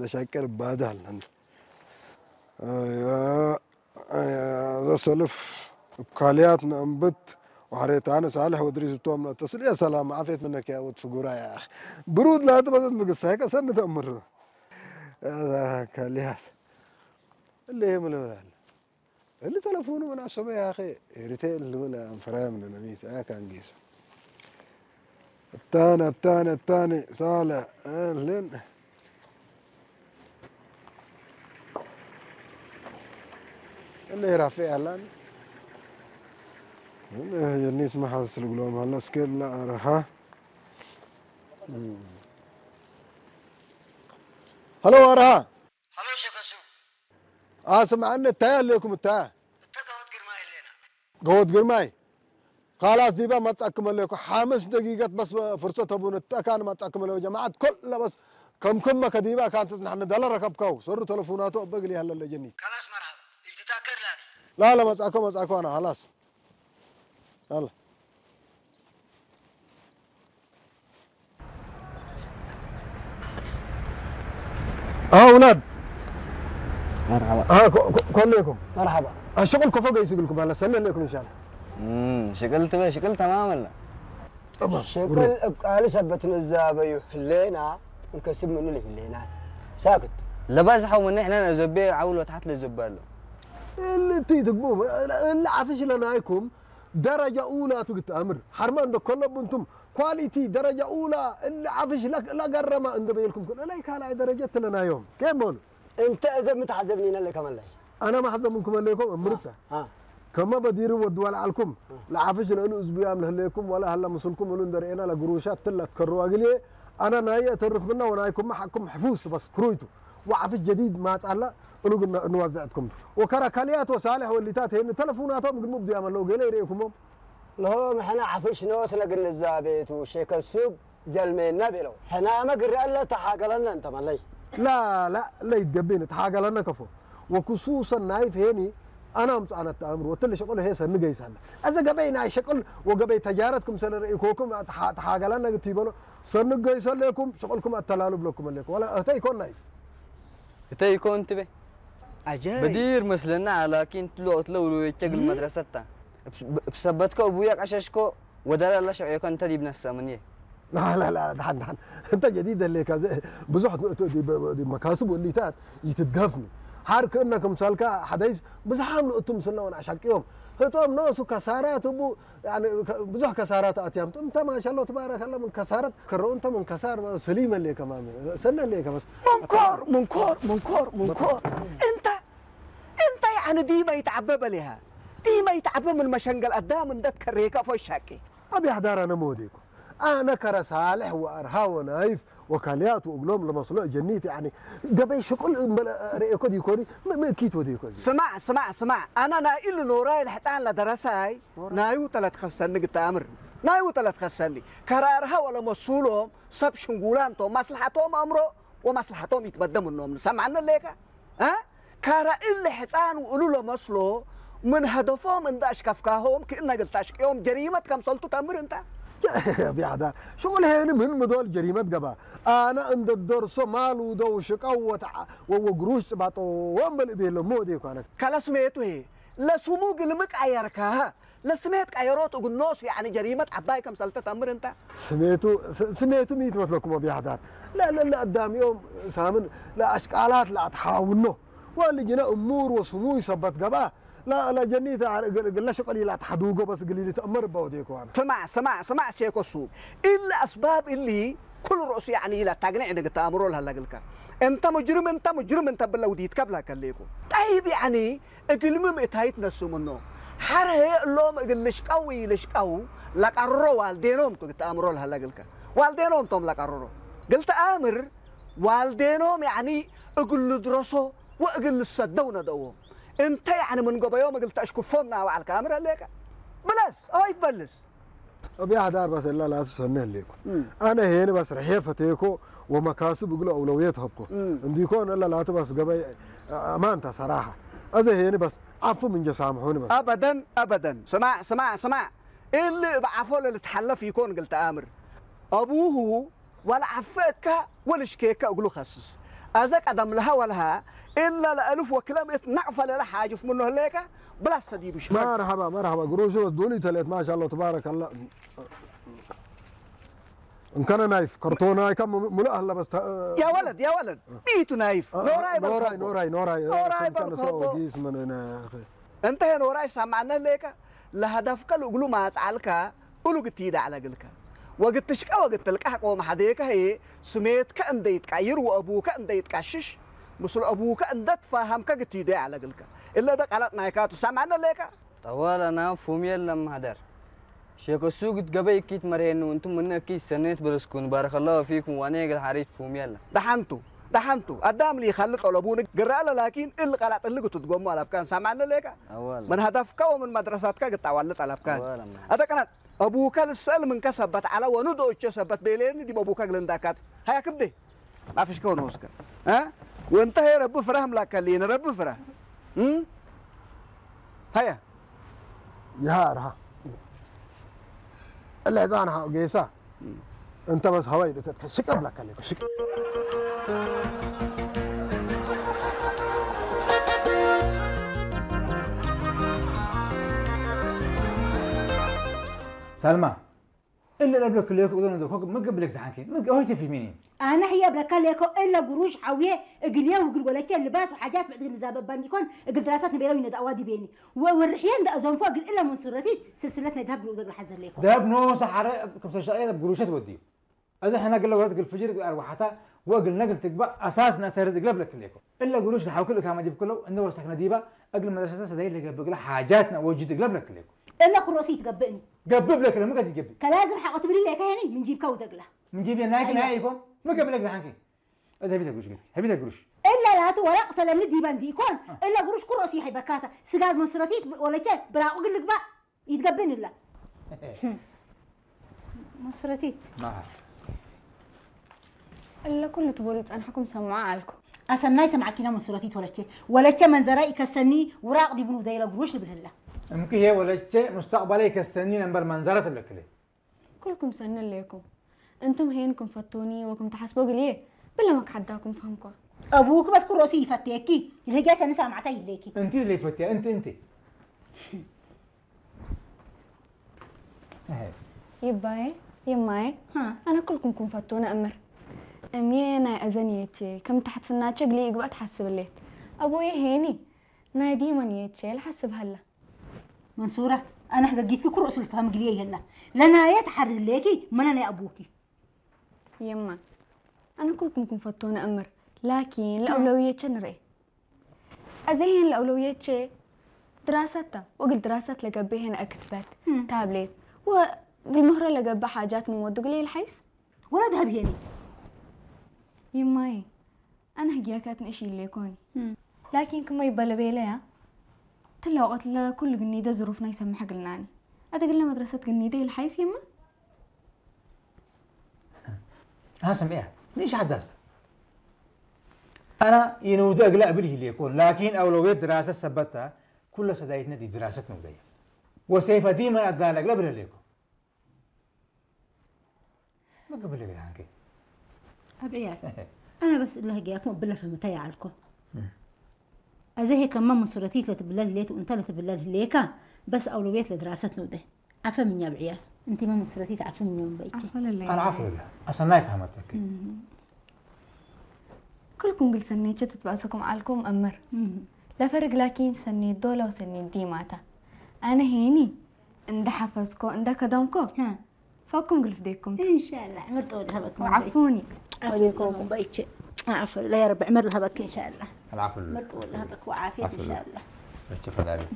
ደሻቅር ባዳል። ዘሰልፍ እኳልያት ነእንብት ወሐሬታነ ሳልሕ ወድሪስ እቶም ተስልያ ሰላም ዓፌት ምነክ ያ ወድ ፍጉራ ያ ኣኽ። ብሩድ ላቲ በዘት ምግሳይ ቀሰን ተእምር። ካልያት እለ ይምልበላል። እሊ ተለፉኑ ምን ኣሰበ ያኸ ኤሪቴል ልብል ኣንፈራም ነነሚት ኣያ ካንጊስ። ኣታኒ ኣታኒ ኣታኒ ሳለ እልን እለ ራፊ ኣላን የኒት መሓዝ ስልግሎም ሃለስከ ለኣረሃ። ሀሎ ኣረሃ። ሀሎ ሸከሱ። ኣስምዓኒ፣ እንታይ ኣለኩም? እታ እተ ገወት ግርማ የለና። ገወት ግርማይ። ካላስ ዲባ መጻኩም ኣለኩ። ሓምስ ደቂቀት በስ ፍርሰት ተቡን፣ እተካን መጻኩም ኣለኩ። ጀማዓት ኮለ በስ ከም ክመ ከዲባ ካንትስ ንሕነ ደለ ረከብከው። ሰሩ ተለፉናቱ ኣበግል ያለ ለጀኒ። ካላስ መርሃባ። ይትታከር ላኪ። ላ ላ መጻኮ መጻኮ ኣና ካላስ። ላ ላ። ኣውላድ መርሓባ። ከመይ ኢኹም? መርሓባ። ሽቅል ኮፎ ገይስግልኩም ኣለ ሰነ ኣለኩም ኢንሻላ። ሽቅል ትበ ሽቅል ተማመላ። ሽቅል እቃል ሰበት ንዛበዩ ህሌና እንከስብ ምኑ ህሌና ሳክት ለባዝሓው ምን ንሕና ነዘቤ ዓውሎ ታሕት ለዘባሎ። እልቲ ትግቡ እልዓፍሽ ለናይኩም ደረጃ ኡላ ትግት ኣምር ሓርማ እንደ ኮለብንቱም ኳሊቲ ደረጃ ኡላ እልዓፍሽ ለገረማ እንደ በየልኩም ኩን እላይ ካልኣይ ደረጃ ትለናዮም። ከመሉ እንተ እዘ ምትሓዘብኒና ለከመላይ ኣና ማሕዘምንኩም ኣለይኮም እምርታ ከመ በዲሪ ወድዋ ለዓልኩም ለዓፍሽ ለእሉ እዝቡያም ለህለይኩም ወላ ሀላ ምስልኩም እሉ እንደርኤና ለግሩሻት ትላት ከሩ ኣግልየ ኣና ናይ እተርኽብና ወናይኩም ሓቅኩም ሕፉስ በስ ክሩይቱ ወዓፍሽ ጀዲድ ማጻላ እሉ ግን እንዋዘዕትኩም ወከራ ካልያት ወሳልሕ ወሊታት ሄን ተለፉናቶም ግን ሙብድያም ኣለዉ ገለ ይርእኩሞም ለሆ ምሕና ዓፍሽ ነወስ ለግንዛቤቱ ሸከሱብ ዘልሜና ቤለው ሕናመ ግረ ለተሓገለነ እንተመለይ ላ ላ ለይትገቤን ተሓገለነ ከፎ ወክሱሰን ናይፍ ሄኒ ኣና ኣምጽኣነ ተኣምር ወትል ሸቅል ሄ ሰኒ ገይሳለ። ኣዘ ገበይ ናይ ሸቅል ወገበይ ተጃረት ክምሰለ ርእይኮኩም ተሓ-፣ ተሓገላና ግት ይበሎ። ሰኒ ገይሰለኩም ሸቅልኩም ኣተላሉ ብለኩም ኣለኩም። ወላ እህተ ይኮን ናይ። እተ ይኮን ትቤ። ኣጀይ። በዲር መስለና ላኪን ትሎ ትሎ ውሉ የቸግል መድረሰታ። እብስ-፣ እብሰበትኮ ቡያ ቀሸሽኮ ወደላ ላ ሸቅዮኮ እንተ ዲብ ነፍሰ ምን እየ። ላ፣ ላ፣ ላ፣ ደሓን፣ ደሓን። እንተ ጀዲድ ደሌካ፣ ዘ-፣ ብዙሕ ት-፣ ት-፣ ዲ-፣ ብ-፣ ብ-፣ ዲ መካስብ ወሊታት ይትትገፍኒ። ሓር ክእነ ክምሳልካ ሓደይስ ብዝሓም ንእቱ ምስልና ወን ኣሻቅዮም። ህጦም ነሱ ከሳራት እቡ፣ ያኒ፣ ከ-፣ ብዙሕ ከሳራት ኣትያም። እንተ ማሻሎ ትባረከላ ምን ከሳረት ከረው እንተ ምን ከሳር ስሊም ኣሌ ከማን፣ ሰነ ኣሌ ከማስ። መንኮር፣ መንኮር፣ መንኮር፣ መንኮር። እንተ፣ እንተ ያኒ ዲመ ይትዓበ በሌሃ። ዲመ ይትዓበ ምን መሸንገል ኣዳም እንደት ከሬካ ፎሻቂ። ኣብ ያሕዳር ኣነ መወዴኩ። ኣነ ከረ ሳልሕ ወኣርሃ ወናይፍ ወካልያት ወእግሎም ለመስሎ ጀኒት፣ ያኒ፣ ገበይ ሽቁል እምበለ ርእየኮ ዲኮኒ፣ ም-፣ ምእኪት ወዴኮ እዚ። ስማዕ፣ ስማዕ፣ ስማዕ፣ ኣነ ናይ ኢሉ ኖራይ ለሕፃን ለደረሳይ፣ ናዩ ተለትኸሰኒ ግተኣምር፣ ናዩ ተለትኸሰኒ። ከረ ኣርሃ ወለመሱሎም ሰብ ሽንጉላም ቶም፣ ማስልሓቶም ኣምሮ ወማስልሓቶም ይትበደም እኖም። ንሰማዕኒ ሌካ? እ? ካራ እለ ሕፃን ውእሉ ለመስሎ ምን ሀደፎም እንዳ ኣሽከፍካሆም ክእነ ግልታሽቅዮም ጀሪመት ከምሰልቱ ተምር እንታ። ቢያዳ ሽቁል ሄኒ ምን ምዶል ጀሪመት ገባ። ኣነ እንደ ደርሶ ማሉ ደው ሽቀው ወተዓ ወወግሩሽ ጽባጦ ወንበል ቤሎ ሞዴ ኳነ። ካላ ስሜቱ ሄ ለስሙ ግልምቅ ኣየርካሃ። ለስሜት ቀየሮት እግኖስ ያኒ ጀሪመት ዓባይ ከምሰልተ ተምር እንታ። ስሜቱ ስ-፣ ስሜቱ ሚት መስለኩም ቢያዳ። لا لا لا أداميوم سامن لا أشكالات لا تحاولنه. واللي جنا أمور وسموي سبت قبا. لا لا جنيت قل شقلي لا تحدوقه بس قليل تأمر بودي كوان. ስማዕ ስማዕ ስማዕ ሼኮ ሱብ። ኢለ ኣስባብ እሊ ኩሉ ርእሱ ያኒ ኢላ ታግንዕ ንግተኣምሮ ለሃለግልካ። እንተ ሙጅርም እንተ ሙጅርም እንተ ብለ ውዲት ከብላ ከሌኩ። ጠይብ ያኒ እግልሚ ምእታይት ነሱ ምኖ። ሓረ እሎም እግል ልሽቀው ይልሽቀው ለቀርሮ ዋልዴኖም ቱ ግተኣምሮ ለሃለግልካ። ዋልዴኖም ቶም ለቀርሮ። ግልተኣምር ዋልዴኖም ያኒ እግል ልድረሶ ወእግል ልሰደው ነደዎም። እንተ ያኒ ምን ገበዮም እግል ተእሽክፎም ናባዕልካ ኣምር ኣሌካ። ብለስ፣ ኦይ ትበልስ። أبي أحد أربعة سلة لا تسنى ليكو. أنا هنا بس رحية فتيكو ومكاسب يقولوا أولويات هبكو. عنديكو أنا لا لا تبس قبي أمان تصراحة. أذا هنا بس عفو من جسامحوني بس. أبدًا، أبدًا. ስማዕ ስማዕ ስማዕ። እሊ እብ ዓፎ ለልትሓለፍ ይኮን ግልተ ኣምር። ኣቡሁ ወለዓፈካ ወልሽኬካ እግሉ ኸስስ። أذا قدم لها ولها إلا لألف وكلام إتنعف لها حاجة في منه ليك بلا سديب شمال. مرحبا مرحبا قروشي ودوني تليت ما شاء الله تبارك الله. إن كان نايف كرتون هاي كم ملأ هلا بس. يا ولد يا ولد، بيتو نايف. نوراي نوراي نوراي نوراي نوراي بركوبو. جيس من هنا يا أخي. أنت هنا وراي سامعنا ليك. لهدفك الأقلو ما أسعالك. ኡሉግ እትይዳ ዕለግልከ። ወግትሽቀ ወግትልቃሕ ቆም ሓደየከ ህየ ስሜትከ እንደይትቃይር ወአቡከ እንደይትቃሽሽ ምስሉ አቡከ እንደትፋሃምከ ግትይደ ያዕለግልከ። እለ ደ ቀለጥ ናይካ ትሰማዕነ ለከ። ጠወለና ፉም የለም ማህደር። ሼከ ሱግት ገበይ እኪት መርሄኑ እንቱም ምነ እኪት ሰኔት በለስኩን ባረከላሁ ፊኩም ዋኔ ገል ሓሪት ፉም የለም። ደሓንቱ ደሓንቱ አዳም ሊ ይኸል ጠለቡን ግራ ለላኪን እል ቀላጥ እልግ ትትጎሙ አላብካን ሰማዕነ ለከ። አወል ምን ሀዳፍካ ወምን መድረሳትካ ግጣዋለ ጠለብካን አወል አማ أتقنت أبوك السلم من كسبت على ونود أوتش سبت بيلين دي أبوك لندكات. هيا كبدي. ما فيش كون هوسكا. ها؟ وانت هي رب فرهم لك اللي رب فرهم. هم؟ هيا. يهار ها. العيدان ها قيسا. أنت بس هواي شك أبلك عليك شك. ሰልማ እለ ለብለክ ለኮ እዞን ዘኮ ምግብ ብለክ ተሓንኪ ምግብ ሆይ ተፊ ሚኒ ኣነ ህየ ብለካ ለኮ እለ ጉሩሽ ሓውየ እግልየ ውግል ወለቸ ልባስ ወሓጃት ብዕድግ ንዛበባን ይኮን እግል ድራሳት ንቤለው ይነዳዋ ዲቤኒ ወርሕየ እንዳ እዞንኮ እግል እለ መንሱረቲት ስልስለት ናይ ዳብ ብሎ ዘግል ሓዘር ለኮ ደብ ኖ ሰሓረ ከም ሰሻቀየ ደብ ጉሩሸት ወዲዩ እዚ ሕና ግለ ወረት ግል ፍጅር ግል ኣርዋሓታ ወግል ነግል ትግባ ኣሳስ ነተርድ ግለ ብለክ ለኮ እለ ጉሩሽ ንሓውክል እካ መዲብ ክለው እንደ ወሰክነ ዲባ እግል መድረሰተ ሰዳይ ለገብግለ ሓጃትና ወጅድ ግለ ብለክ ለኮ እለ ኩሮሲ ይትገብእኒ ገብእ ብለክ ለምቀት ይገብእ ከላዝም ሓቆ ትብሊ ለካ ሄኒ ምን ጂብካ ውደግላ ምን ጂብየ ናይክ ናይ ይኮን ምገብለክ ዝሓንኪ እዚ ሀቢተ ግሩሽ ገትኪ ሀቢተ ግሩሽ እለ ላቱ ወረቅ ተለምኒ ዲበን ዲኮን እለ ግሩሽ ኩሮሲ ይሕበካታ ስጋዝ መንሱረቲት ወለቸ ብራቁ ግልግባ ይትገብእኒ እላ መስረቲት መዓር እለ ኩሉ ትበሉ ዝጸናሕኩም ሰምዖ ዓልኩ። ኣሰናይ ሰምዓኪና መስረቲት ወለቼ። ወለቼ መንዘራ ኢከሰኒ ውራቕ ዲቡን ውደይለ ግሩሽ ልብልላ። እምክሄ ወለቼ ሙስተቕባለ ኢከሰኒ ነምበር መንዘራ ትብለክሌ። ኩልኩም ሰኒ እሌኩም። እንቱም ሄን ክም ፈቶኒ ወክም ተሓስቦ ግልዬ ብለ መክሓዳኩም ፈህምኳ። ኣቡክ በስ ኩሮሲ ይፈቴኪ። ይልህጌ ሰኒ ሳማዕታ ይሌኪ። እንቲ ለይፈትያ እንቲ እንቲ። ይባየ ይማየ ኣነ ኩልኩም ኩንፈቶ ነእምር እምየ ናይ እዘን የቼ ከም ታሕትስናቸ ግሊ ይግባእ ትሓስብ ሌት ኣቦየ ሄኒ ናይ ዲመን የቼ ልሓስብ ሀላ መንሱራ ኣነ ሕገጊትኪ ኩርእ ስልፋም ግልየ የላ ለናየ ተሓርሌኪ መነ ናይ ኣቦኪ የማ ኣነ ኩልኩም ኩንፈቶ ነእምር ላኪን ለአውለውየቸ ንርኤ أزهين الأولويات شيء دراستها وقل دراست لقبيهن أكتبت تابلت وقل مهرة لقب حاجات من ودق لي الحيس ولا ذهب هيني يماي أنا هجياكات نشي اللي يكوني لكن كما يبالي بيليا تلاقت لكل قنيدة ظروفنا يسمح قلناني أتقلنا مدرسة قنيدة الحيس يما ها سمعيها ليش حدثت أنا ينودي أقلق بلي ليكون لكن أولوية دراسة سبتها كل سدايتنا دي دراسة نودية وسيف ديما أدانا أقلق بلي ليكون ما قبل لك عنك أبعيات أنا بس الله جاكم بلا فهمتها يا عالكم أزهي كمان من صورتي تلتبلل ليت وأنت لتبلل ليكا بس أولوية لدراسة نودي عفا من يا بعيال انت ما مسرتي تعفي من يوم بيتي العفو لله اصلا ما فهمتك كلكم قلت سنيت شتت بأسكم عالكم أمر لا فرق لكن سنيت دولة وسنيت ديماتا أنا هيني عند حفظكو عند كدمكو فكم قلت ديكم إن شاء الله عمرت ولها بك وعفوني وليكم بيتي عفو لا يا رب عمر لها بك إن شاء الله العفو لله عمرت ولها بك وعافية إن شاء الله اشتفى ذلك